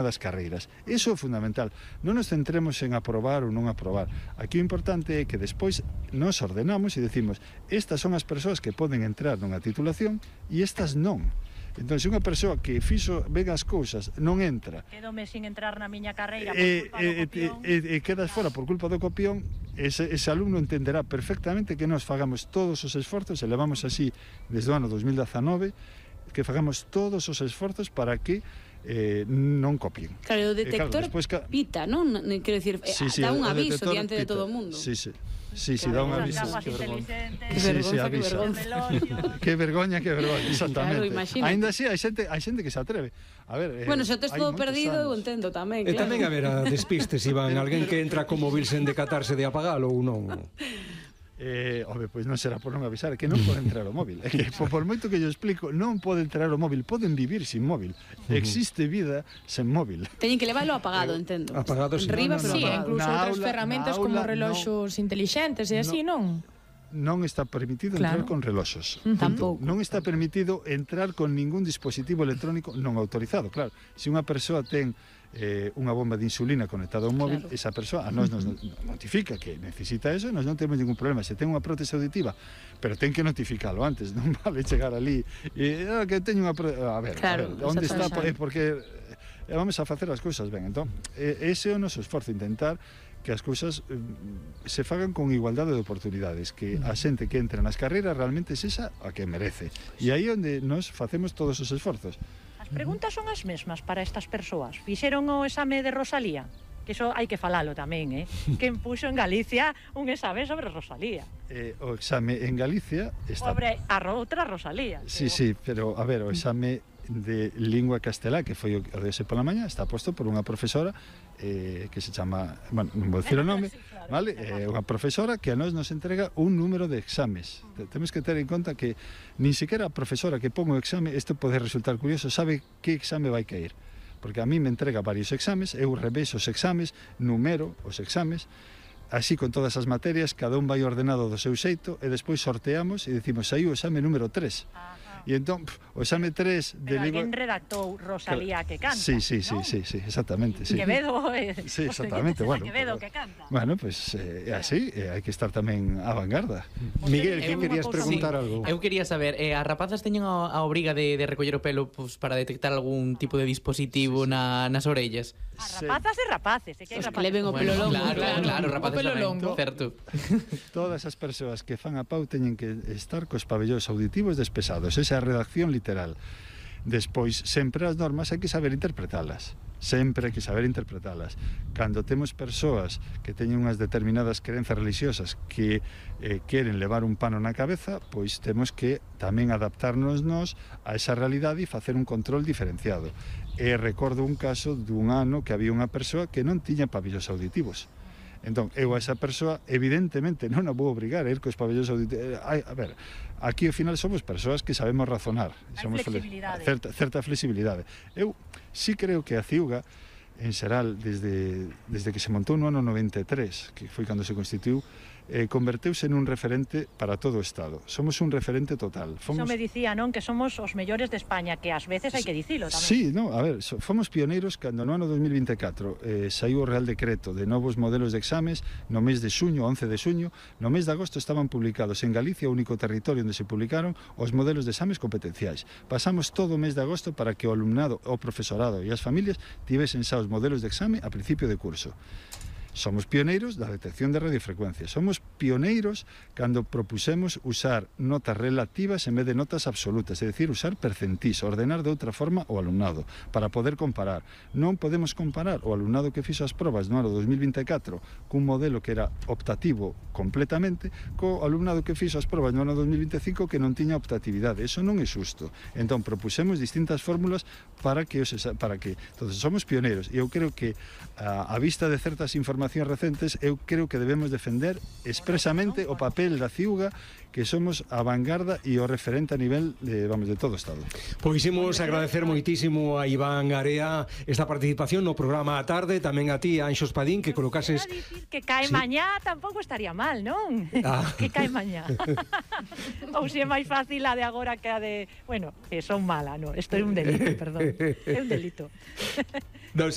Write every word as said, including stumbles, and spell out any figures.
das carreiras. Iso é fundamental. Non nos centremos en aprobar ou non aprobar. Aquí o importante é que despois nos ordenamos e decimos estas son as persoas que poden entrar nunha titulación e estas non. Entón, se unha persoa que fixo ben as cousas non entra quedome sin entrar na miña carreira por e, culpa do copión e, e, e quedas fora por culpa do copión, ese, ese alumno entenderá perfectamente que nos fagamos todos os esforzos e levamos así desde o ano dos mil dezanove que fagamos todos os esforzos para que eh, non copien. Claro, o detector eh, claro, despois, pita, non? Quero dicir, sí, sí, dá un o aviso detector diante de pita. todo o mundo. Sí, sí. Sí, sí, claro, dá un aviso. Que vergonza, que vergonza, que vergonza. Que vergoña, que vergoña, exactamente. Claro, imagínate. Ainda así, hai xente, hai xente que se atreve. A ver, eh, bueno, se o tes todo perdido, eu entendo tamén, claro. E tamén haberá despistes, Iván, alguén que entra con móvil sen decatarse de apagalo ou non. Eh, home, pois non será por non avisar, que non pode entrar o móvil. É que por, por moito que yo explico, non pode entrar o móvil, poden vivir sin móvil. Existe vida sen móvil. Teñen que leválo apagado, entendo. Apagado, sí. Enriba, no, no, pero sí, apagado. incluso Na outras aula, ferramentas aula, como reloxos no, inteligentes e así, non? Non está permitido claro. entrar con reloxos. Uh -huh. Tampouco. Non está permitido entrar con ningún dispositivo electrónico non autorizado. Claro, se unha persoa ten eh, unha bomba de insulina conectada a un móvil, claro. Esa persoa a nós nos notifica que necesita eso, nós non temos ningún problema. Se ten unha prótese auditiva, pero ten que notificalo antes, non vale chegar ali e ah, que teño unha prótese, a ver, claro, a ver, onde está, é porque eh, vamos a facer as cousas ben. Entón, eh, ese é o noso esforzo, intentar que as cousas eh, se fagan con igualdade de oportunidades, que a xente que entra nas carreiras realmente sexa a que merece. E aí onde nos facemos todos os esforzos. As preguntas son as mesmas para estas persoas. Fixeron o exame de Rosalía? Que iso hai que falalo tamén, eh? Quen puxo en Galicia un exame sobre Rosalía? Eh, o exame en Galicia está... Sobre a outra Rosalía. Sí, sí, pero a ver, o exame de lingua castelá, que foi o de ese pola mañá, está posto por unha profesora eh, que se chama, bueno, non vou dicir o nome, vale? É eh, unha profesora que a nós nos entrega un número de exames. Temos que ter en conta que nin sequera a profesora que pon o exame, isto pode resultar curioso, sabe que exame vai caer. Porque a mí me entrega varios exames, eu reveso os exames, numero os exames, así con todas as materias, cada un vai ordenado do seu xeito e despois sorteamos e decimos, aí o exame número tres. E entón, pf, o exame tres de pero lingua... alguén redactou Rosalía que canta, sí, sí, sí, ¿no? sí, sí, exactamente, sí. Quevedo, eh, sí, exactamente, bueno, Quevedo pero, que canta. Bueno, pues é eh, así, eh, hai que estar tamén a vanguarda. Miguel, que querías preguntar sí, algo? Eu quería saber, eh, as rapazas teñen a, a obriga de, de recoller o pelo pues, para detectar algún tipo de dispositivo sí, sí. Na, nas orellas? As rapazas e rapaces, é que hai Os rapaces. que leven o pelo bueno, longo, claro, claro, claro, rapaces o pelo tamén, longo. certo. Todas as persoas que fan a pau teñen que estar cos pabellóns auditivos despesados, esa é a redacción literal. Despois, sempre as normas hai que saber interpretalas. Sempre hai que saber interpretalas. Cando temos persoas que teñen unhas determinadas crenzas religiosas que eh, queren levar un pano na cabeza, pois temos que tamén adaptarnos nos a esa realidade e facer un control diferenciado. E recordo un caso dun ano que había unha persoa que non tiña pabellóns auditivos. Entón, eu a esa persoa, evidentemente, non a vou obrigar a ir cos pabellóns auditivos. A ver, aquí ao final somos persoas que sabemos razonar. Hai somos flexibilidade. Certa, certa flexibilidade. Eu sí creo que a Ciuga, en xeral, desde, desde que se montou no ano noventa e tres, que foi cando se constituiu, eh, converteuse nun referente para todo o Estado. Somos un referente total. Iso Fomos... me dicía, non? Que somos os mellores de España, que ás veces hai que dicilo tamén. Sí, no, a ver, so, fomos pioneiros cando no ano dos mil vinte e catro eh, saiu o Real Decreto de novos modelos de exames no mes de xuño, once de xuño, no mes de agosto estaban publicados en Galicia, o único territorio onde se publicaron os modelos de exames competenciais. Pasamos todo o mes de agosto para que o alumnado, o profesorado e as familias tivesen xa os modelos de exame a principio de curso. Somos pioneiros da detección de radiofrecuencias. Somos pioneiros cando propusemos usar notas relativas en vez de notas absolutas, é dicir, usar percentís, ordenar de outra forma o alumnado, para poder comparar. Non podemos comparar o alumnado que fixo as probas no ano dos mil vinte e catro cun modelo que era optativo completamente, co alumnado que fixo as probas no ano dos mil vinte e cinco que non tiña optatividade. Eso non é xusto. Entón, propusemos distintas fórmulas para que, os, para que entonces, somos pioneiros. E eu creo que a, a vista de certas informacións recentes, eu creo que debemos defender expresamente o papel da Ciuga, que somos a vanguarda e o referente a nivel de, vamos, de todo o Estado. Pois imos agradecer moitísimo a Iván Area esta participación no programa a tarde, tamén a ti, Anxos Padín, que colocases... Que cae sí. mañá tampouco estaría mal, non? Ah. Que cae mañá. Ou se é máis fácil a de agora que a de... Bueno, que son mala, non? Isto é un delito, perdón. É un delito.